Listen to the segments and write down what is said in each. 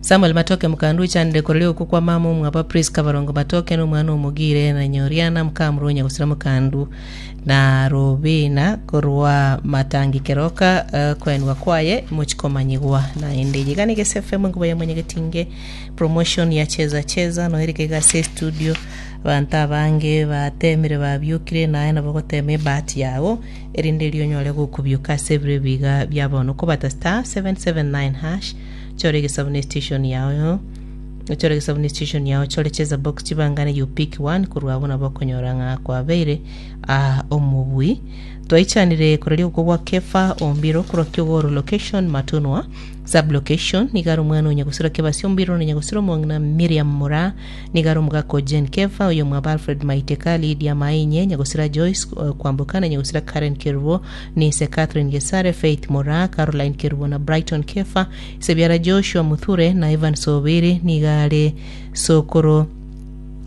Samuel Matoke Mukandu ochanire koreria okwo kwa mama omwabo Prisca Barongo Matoke na omwana omogire na Nyoriana Mukamurwonya gosira Mukandu na Robina korwa Matangi Keroka eh, koenwa kwaye mochi komanyigwa naende. Iga nigo SFM enkuba ya mwenyegetinge promotion ya cheza cheza noerike iga ase estudio abanto abange batemire babiokire naye nabo gotema ebahati yago erinde erio onyore gokobioka ase ebiro ebiga bia bono okobata star 779 hash Chora egesabu ne station yao Chora egesabu ne station yao chore cheza box chibangane you pick one korwa abwo nabo okonyora ng'a kwabeire ah, omobui Twaichanire koraria okwo gwa Kefa Ombiro korwa Kiogoro location Matunwa sub location nigo are omwana o Nyagusira Kebasi Ombiro na Nyagusira omong'ina Miriam Moraa nigo are omogaka o Jane Kefa oyomwabo Alfred Maiteka Lydia Mainye Nyagusira Joyce eh, Kwamboka na Nyagusira Karen Kerubo Nise Catherine Gesare, Faith Moraa, Caroline Kerubo na Brighton Kefa, Sebiara Joshua Muthure na Ivan Sobiri nigo are sokoro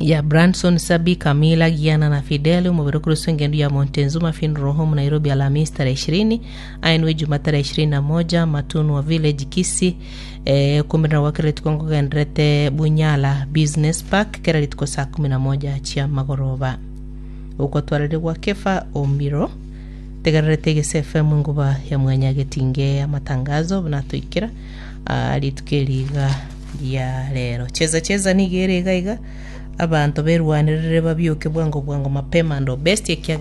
ya Branson, Sabi, Camila, Giana na Fidel, omobere okoroswa engendu ya Montezuma Funeral Home, Nairobi, Alhamisi tarehe ishirini, aenwe Ijumaa tarehe ishirini na moja, Matunwa Village, Kisii. Eh, okomerera gwa kera rituko nkogenderete Bunyala Business Park kera rituko saa kumi na moja chia magoroba. Ogotwarire gwa Kefa Omiro. Tegererete Egese FM enguba ya mwanyagetinge amatangazo buna toikera ah, rituko eri iga ria rero. Cheza cheza nigo ere iga iga abanto berwanerere babioke bwango bwango mapema ndo best ekiagera.